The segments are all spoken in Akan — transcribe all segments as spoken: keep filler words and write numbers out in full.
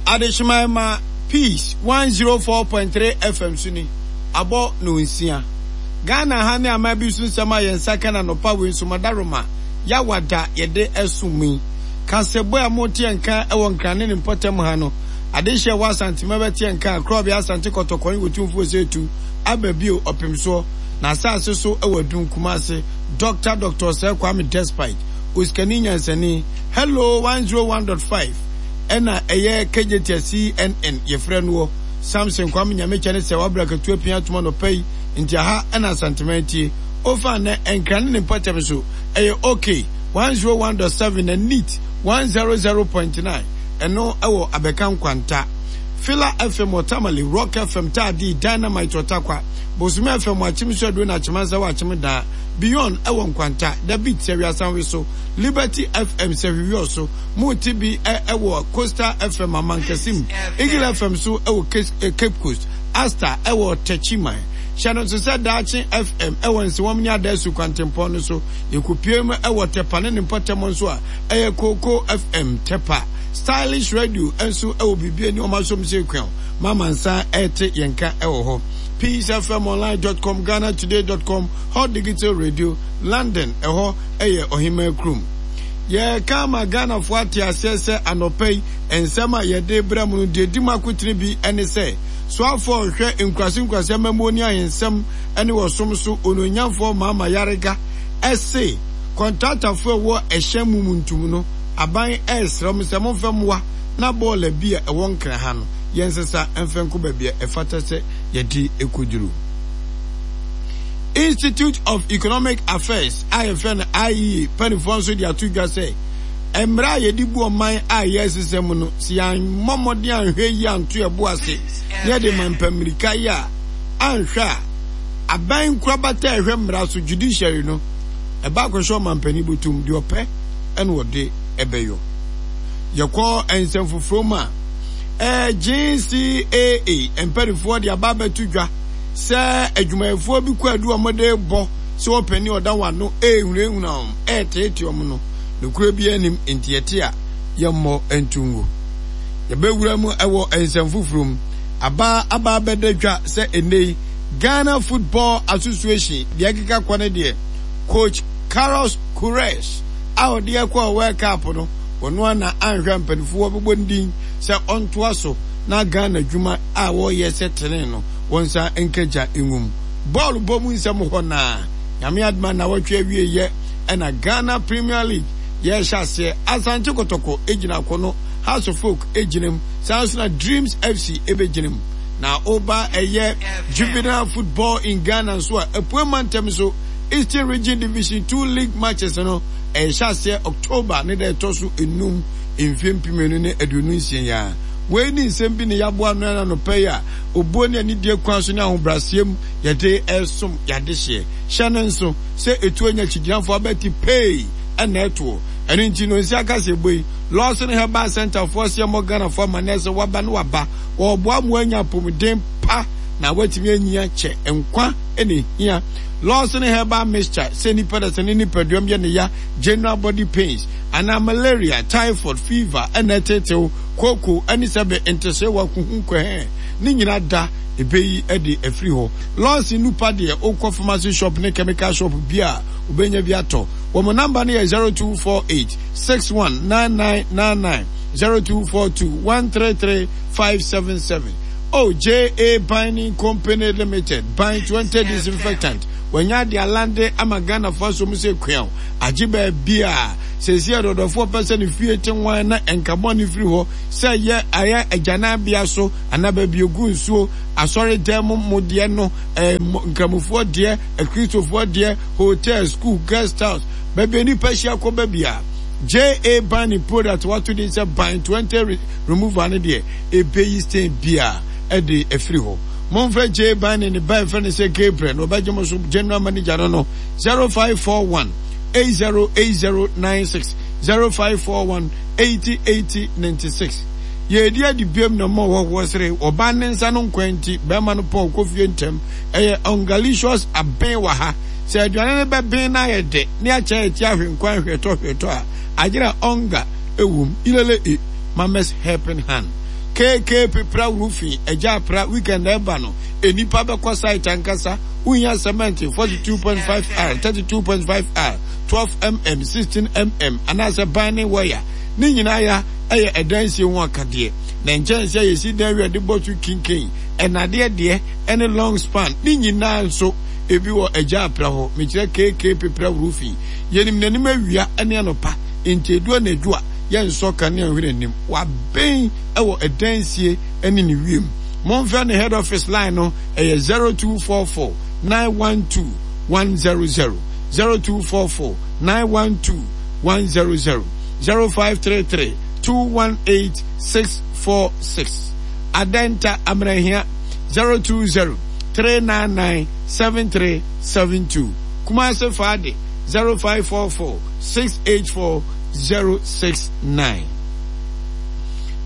Adehyeman ma Peace one zero four point three FM so ni, abɔ nnɔnsia. Ghana ha ne aman bi so nsɛm a yɛn nsa ka no anɔpa wei nso Madaroma, Yawada yɛde ɛsom yi. Kansɛbɔ a mote yɛn nka wɔ Nkran ne ne mpɔtam ha no, adehyeɛ wɔ Asantema bɛte yɛn nka, Korɔbea Asante Kɔtɔkɔ ne Otumfoɔ Osei aba bio Ɔpemsoɔ, n'asase so wɔ Adum, Kumase, Doctor Doctor Osei Kwame Despite, Osikani Nyansani, Hello one zero one dot five. Ɛna ɛyɛ Kejetia C N N yɛfrɛ noɔ Samson Kwame Nyamekyɛ ne sɛ wabra katu apia atom anɔpa yi nti aha ɛna Asanteman tie ofa nɛ Nkran ne ne mpɔtam so ɛyɛ OK one zero one dot seven na Neat one zero zero point nine ɛno ɛwɔ Abɛka Nkwanta, Fila F M wɔ Tamale, Rock F M Taadi, Dynamite wɔ Takwa, Bosome F M wɔ Akyem so Aduro na Akyemansa wɔ Akyem Daa, Beyond ɛwɔ Nkwanta, The Beat sɛ Wiasanwe so, Liberty F M sɛ Hwiwiɔ so, Mote bi ɛwɔ Coastal F M Amankasim, Eagle F M so ɛwɔ Cape Coast, Asta ɛwɔ Techiman. Hyɛ no nso sɛ Daakye F M ɛwɔ Nsewam ne Adaasu kwantempɔn no so. Yɛkɔpue mu ɛwɔ Tɛpa ne ne mpɔtam nso a, ɛyɛ Coco F M Tɛpa. Stylish Radio nso ɛwɔ biribi ani ɔma som sɛ kuaw mama nsa ɛte yɛn ka ɛwɔ hɔ. Peace F M online dot com, Ghana Today dot com, Hot Digital Radio, London, ɛhɔ ɛyɛ Ɔhema kurom. Yɛka ama Ghanafoɔ ate aseɛ sɛ anɔpa yi nsɛm a yɛde brɛ mu no deɛ di mu akotene bi ne sɛ soafoɔ a ɔhwɛ nkurase nkurase amammuo ne ahensɛm ne wɔsom so, Onuonyamfoɔ Mahama Yarega, ɛse kɔntratafoɔ a ɛwɔ ɛhyɛn mu mu ntum no, aban ɛresrɛ mo sɛ momfɛ mmoa na bɔɔla bi a ɛwɔ Nkran ha no yɛnsesa mfɛ nkɔ baabi a ɛfata sɛ yɛde ɛkɔduru. Institute of Economic Affairs a yɛfrɛ no I E A mpanimfoɔ nso de ato dwa sɛ mmerɛ a yɛde bu ɔman a yɛresesa mu no, sɛ yɛammɔ mmɔden anhwɛ yi anto ɛbo ase na yɛde ma mpammirika yi a anhwɛ a, aban nkorabata a ɛhwɛ mmara so, judiciary no, ɛba akɔhyɛ ɔmampanin bɔtom deɛ ɔpɛ ɛna ɔde ɛbɛyɔ. Yɛkɔ nsɛm foforɔ mu a, ɛɛ G C A A mpanimfoɔ de aba abɛto dwa sɛ adwumayɛfoɔ bi kɔ adu a wɔde bɔ sɛ wɔpɛni ɔda wɔn ano ɛrehunahuna wɔn, ɛreteete wɔn no, nokura bi anim nti yɛte a yɛmmɔ nto ngu. Yɛbɛwura mu ɛwɔ nsɛm foforɔ mu. Aba aba abɛda dwa sɛ ɛnnɛ yi Ghana Football Association deɛ ɛkeka kɔ no deɛ, coach Carlos Queiroz a ɔde ɛkɔɔ World Cup no, ɔno ana anhwɛ mpanimfoɔ bɛbɔ ne din sɛ ɔntoa so na Ghana adwuma a wɔreyɛ sɛ tene no wɔn nsa nkagya nwom. Bɔɔlo bɔ mu nsɛm hɔ naa Nyame adoma na wɔtwe awie yɛ ɛna Ghana Premier League yɛhyɛ aseɛ. Asante Kɔtɔkɔ gyina akɔno, Hearts of Oak gyina mu, saa nso na Dreams F C ɛbɛgyina mu. Na ɔba ɛyɛ juvenile football in Ghana nso a, apue mantam so Eastern Region Division Two League matches no ɛhyɛ aseɛ October ne da ɛtɔ so enum, mfie mpem mmienu ne aduonu nsia yi a. Wei ne nsɛm bi ne yɛaboa no ɛna nɔpɛ yi a obuo ne anidie kwan so ne ahobrɛaseɛ mu yɛde ɛsom yɛadehyeɛ. Hyɛ no nso sɛ etuo nya kyigyinafoɔ abɛti pei ɛna ɛtoɔ. Ɛno nti no nsi aka sɛ eboi Lawson Herbal Center foɔ seɛ mmɔ Ghanafoɔ amanneɛ sɛ waba ne waba wɔboa mo anya apɔmuden pa na watumi anyia kyɛ nkwa ɛna ehia. Lawson Herbal Mixture sɛ nipa da sɛ ne nipaduam yɛ ne ya, general body pains anaa malaria, typhoid, fever ɛna ɛtetew kooko ɛne sɛbe ntesewa kuhu nkɔhɛn ne nyina da ebeyi ɛde afiri hɔ. Lawson nupa deɛ, okɔ pharmacy shop ne chemical shop bi a wobɛnya bi atɔ. Wɔn namba no yɛ zero two four eight six one nine nine nine nine, zero two four two one three three five seven seven. O J A Binding Company Limited, Bind twenty disinfectant wɔnya de alande ama Ghanafoɔ aso mu sɛ kuaw agye baabi a sɛsi adɔdɔfoɔ pɛ sɛ ne fie te nwan na nkabɔ ne firi hɔ sɛ yɛ ayɛ agyanabea so anaa baabi egu nsuo, asɔre dan mu mo deɛ no, ɛɛ nkramofoɔ deɛ, akristofoɔ deɛ, hotel, school, guest house, baabi a nipa hyia kɔ baabi a J A Binding product wato din sɛ Bind twenty remover no deɛ, ebeyi stain bia ɛde afiri hɔ. Momfrɛ J A Binding ne ba ɛfrɛ no sɛ Gabriel na ɔbɛgye mo so. General manager no no zero five four one eight zero eight zero nine six, zero five four one eighty eighty ninety-six. Yɛdi adi biam na ma ɔhɔhoɔ sere ɔbaa ne nsa no nkwan nti bɛrima no pɔn kɔ fie ntɛm. Ɛyɛ Ungalicious aben wɔ ha sɛ aduane no bɛben na ayɛ dɛ ne akyɛ ɛti ahwe nkwan hwɛtɔ hwɛtɔ a agyerɛ ɔnga ɛwom ilele e Mama's Helping Hand. K K Pepra Roofing, Agya Apra, weekend ɛba no, nnipa bɛkɔ site ankasa. Wohia cement forty-two point five R, thirty-two point five R, twelve millimeter, sixteen millimeter anaasɛ ban wire ne nyinaa ya ɛyɛ ɛdansie ho akadeɛ. Na nkyɛnse a yɛsi dan wi a de bɔ so kinkin, ɛnadeɛ deɛ ɛne long span ne nyinaa nso ebi wɔ Agya Apra hɔ. Mekyerɛ K K Pepra Roofing. Yɛnim n'anim awia ne anɔpa, nti edu anadwo a yɛnsɔ kanea nhwɛ n'anim. Wabɛn ɛwɔ ɛdansie ne ne wiem. Momfrɛ ne head office line no, ɛyɛ zero two four four nine one two one zero zero, zero two four four nine one two one zero zero, zero five three three two one eight six four six. Adenta Amrahia, zero two zero three nine nine seven three seven two. Kumase Fade, zero five four four six eight four zero six nine.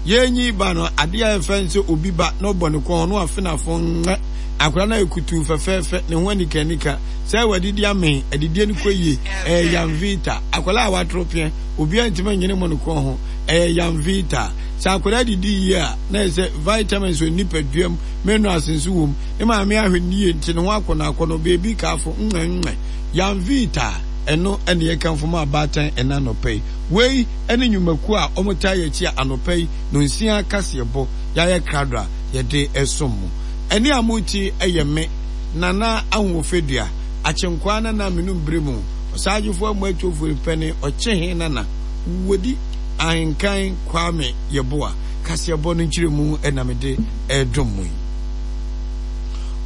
Yɛnyi ba no adeɛ a yɛfɛ sɛ obi ba na ɔbɔ ne kɔn no afenafo ŋmɛ akwadaa no ayɛ kutuu fɛfɛɛfɛ, ne ho anikanika sɛ wadidi amee, adidie no kɔ yie. Ɛyɛ Yanvita. Akwadaa a watoro peɛ, obiara ntumi nyene mo ne kɔn ho. Ɛyɛ Yanvita. Sɛ akwadaa didi yie a, na yɛ sɛ vitamins wɔ nipaduam, minerals nso wɔ mu. Ne maame ahwɛ ne yie nti ne ho akɔnɔ akɔnɔ beebi kaafo ŋmɛ ŋmɛ. Yanvita, ɛno ɛne yɛkamfo ma abaatan ɛna anɔpɛ yi. Wei ɛne nnwumakuo a wɔtaa yɛ akyi a anɔpɛ yi no nsia kaseɛbɔ yɛayɛ krado a yɛde ɛsom mo. Ɛne a moti ɛyɛ me Nana Ahoɔfɛdua Akyenkwaa Nana Menum bere mu ɔsaagyefoɔ amu atuofoɔ pɛne ɔkyehe Nana Wodi Ahenkan Kwame Yɛboa kaseɛbɔ no nkyerɛmu ɛna mede ɛredom mu yi.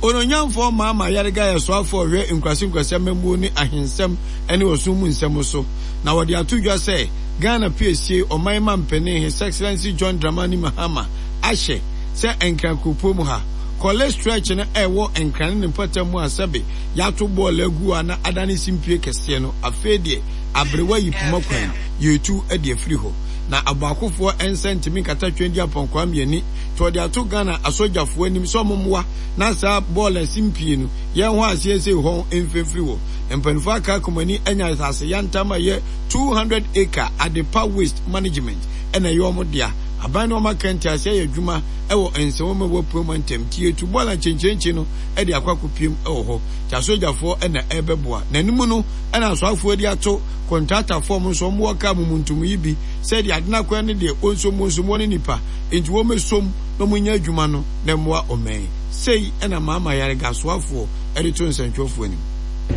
Ononyamfoɔ Maama Yarega yɛ soafoɔ ɔhwɛ nkurase nkurase amammuo ne ahensɛm ne ɔsom mu nsɛm so, na wɔde ato dwa sɛ Ghana piesie ɔman ma mpanin His Excellency John Dramani Mahama ahyɛ sɛ Nkran kuropɔn mu ha Korle Stretch no ɛwɔ Nkran ne ne mpɔtam mu a sɛbe yɛato bɔɔl agu a na adane simpie kɛseɛ no, afei deɛ aberewa yi poma kwan yɛtu de afiri hɔ na aboakofoɔ nsa ntumi nkata twɛn di apɔnkɔa mmiani. Nti wɔde ato Ghana asogyafoɔ anim sɛ ɔmo mmoa na saa bɔɔl simpie no yɛn ho aseɛ sɛ hɔn mfimfiri hɔ. Mpanimfoɔ aka akomani anya asase yantam a ɛyɛ two hundred acre. Adepa Waste Management ɛna ɛyɛ ɔmo dea. Aban ne ɔmo aka nti ase ayɛ adwuma ɛwɔ nsɛm mu a wɔapue mu ntɛm nti yɛtu bɔɔl nkyɛnkyɛnkyɛn no ɛde akɔ akɔpiem ɛwɔ hɔ. Nti asogyafoɔ ɛna ɛbɛboa n'anim no, ɛna asoafoɔ de ato kɔntratafoɔ ɔmo nso ɔmo wɔ kaa mumuntum yi bi sɛdeɛ adenakwan ne deɛ wɔnsom wɔnsom wɔn ne nipa nti wɔn mɛsom na wɔn nyɛ adwuma no na mmoa ɔman. Sei ɛna Maama Yarega asoafoɔ ɛde to nsɛntwerɛfoɔ anim.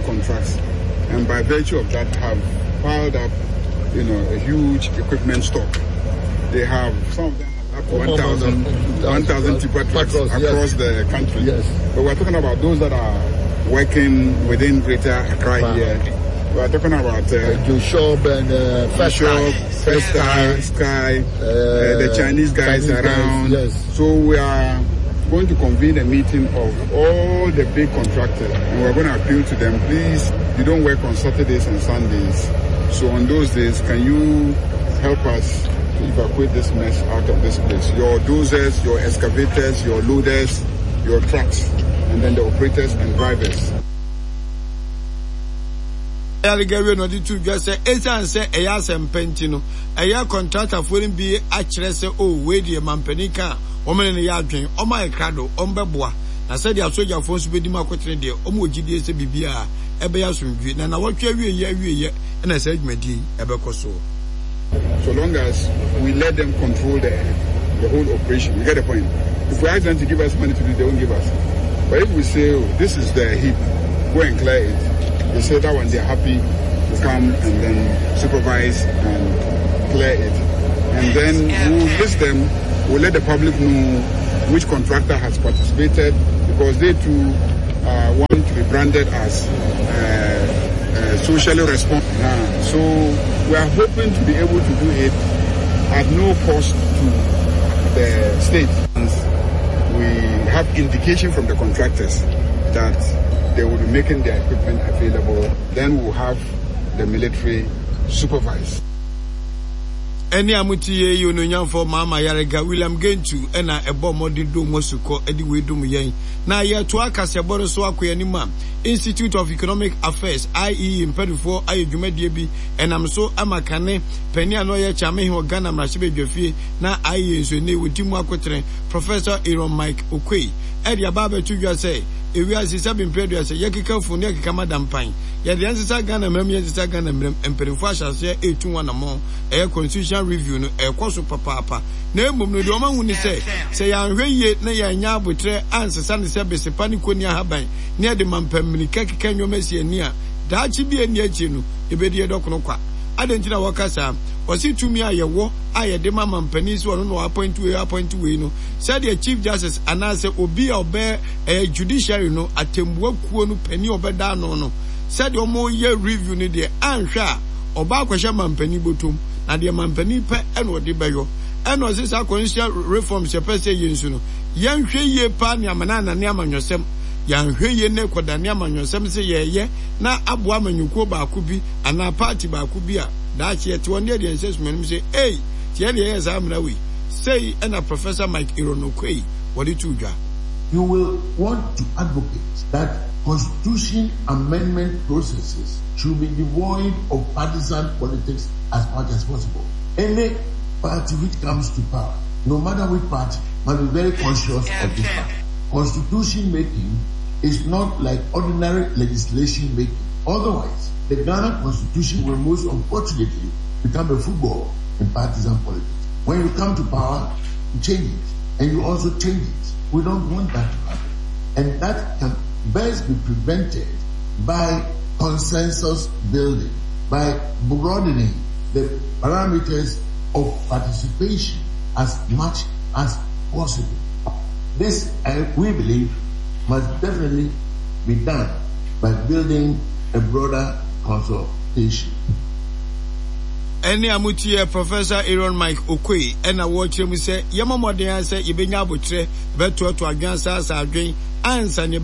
Contracts, and by virtue of that have piled up you know a huge equipment stock. They have, some of them have up to one thousand one thousand tipper trucks across the country. Yes. But we're talking about those that are working within Greater Accra here. We are talking about uh, Joshua and uh, First Bishop, First Star, Sky, uh, the Chinese guys Chinese guys, around. yes. So we are going to convene a meeting of all the big contractors and we're going to appeal to them: please, you don't work on Saturdays and Sundays. So on those days, can you help us to evacuate this mess out of this place? Your dozers, your excavators, your loaders, your trucks, and then the operators and drivers. Yarega wie na ɔde to dwa sɛ ɛsiane sɛ ɛyɛ asɛmpa nti no, ɛyɛ kɔntratafoɔ no bi akyerɛ sɛ o wei deɛ mampanin ka a wɔn ne no yɛ adwen, wɔn ayɛ krado, wɔn bɛboa. Na sɛdeɛ asogyafoɔ nso bɛdi mu akotene deɛ, wɔn wɔ gyidie sɛ biribiara ɛbɛyɛ asomdwie na nawɔtwe awieɛ awieɛ ɛna saa dwumadie yi ɛbɛkɔ soɔ. So long as we let them control the, the whole operation, you get the point. If we ask them to give us money to do, they won't give us. But if we say, "Oh, this is the heap, go and clear it," they say that one they're happy to come and then supervise and clear it. And then we'll list them, we'll let the public know which contractor has participated, because they too uh, want to be branded as uh, uh, socially responsible. Uh, so we are hoping to be able to do it at no cost to the state. We have indication from the contractors that they will be making their equipment available. Then we'll have the military supervise. Ɛne a mote yɛ yi onuonyamfoɔ Mahama Ayariga William Gentu ɛna ɛbɔ mmɔden dom mu asukɔ de wei dom yɛn. Na yɛtoa kaseɛbɔ no so akɔ yɛn anim a, Institute of Economic Affairs, I E A, mpanimfoɔ ayɛ dwumadie bi ɛnam so ama kane panin a na ɔyɛ Kyeame wɔ Ghana mmarahyɛbadwafie na I E A nso ne wɔdi mu akotene, Professor Aaron Mike Oquaye, ɛde aba abɛto dwa sɛ ewiase sɛbe mpɛ aduasa yɛkeka funu ne yɛkeka madampan yɛde yɛnsesa Ghana mmerɛm yɛnsesa Ghana mmerɛm. Mpanimfoɔ ahyɛ aseɛ ɛretu wɔn anammɔn, ɛyɛ constitutional review no ɛrekɔ so papaapa. Na mmom no, deɛ ɔma hu ne sɛ sɛ yɛanhwɛ yie na yɛanya abotrɛ ansesa ne sɛ besepa ne kɔni ahaban ne yɛde mampammirika keka nneɛma si ani a, daakye bi a ɛnni akyire no yɛbɛdi yɛdɔkono kwa. Adɛn nti na wɔka saa? Wɔse tumi a yɛwɔ a yɛde ma mampanin sɛ ɔno na ɔappoint wei, appoint wei no, sɛdeɛ Chief Justice anaasɛ obi a ɔbɛyɛ ɛyɛ judiciary no atɛmbua kuo no panin a ɔbɛda ano no, sɛdeɛ ɔmo review no deɛ, anhwɛ a ɔba akɔhyɛ mampanin bɔtɔm na deɛ mampanin pɛ ɛna ɔde bɛyɔ. Ɛna ɔse saa constitutional reforms yɛpɛ sɛ yɛ nso no, yɛnhwɛ yie paa ne amana anane amanyɔsɛm. Yɛanhwɛ yie ne kɔdane amanyɔsɛm sɛ yɛyɛ na aboa amanyɔkuo baako bi anaa party baako bi a, daakye yɛte wɔn deɛ deɛ nhyɛ sumanim sɛ ei tiɛ deɛ yɛ saa mmara wei sei. Ɛna Professor Mike Aaron Oquaye wɔde to dwa. You will want to advocate that constitution amendment processes should be devoid of partisan politics as much as possible. Any party which comes to power, no matter which party, must be very conscious of this fact. Constitution making is not like ordinary legislation making. Otherwise, the Ghana Constitution will most unfortunately become a football in partisan politics. When you come to power, you change it, and you also change it. We don't want that to happen. And that can best be prevented by consensus building, by broadening the parameters of participation as much as possible. This, uh, we believe, must definitely be done by building a broader consultation. Ɛne a motie Professor Aaron Mike Oquaye ɛna wɔkyerɛ mu sɛ yɛma mmɔden a sɛ yɛbɛnya abotrɛ bɛtoato adwen asaasa adwen ansa ne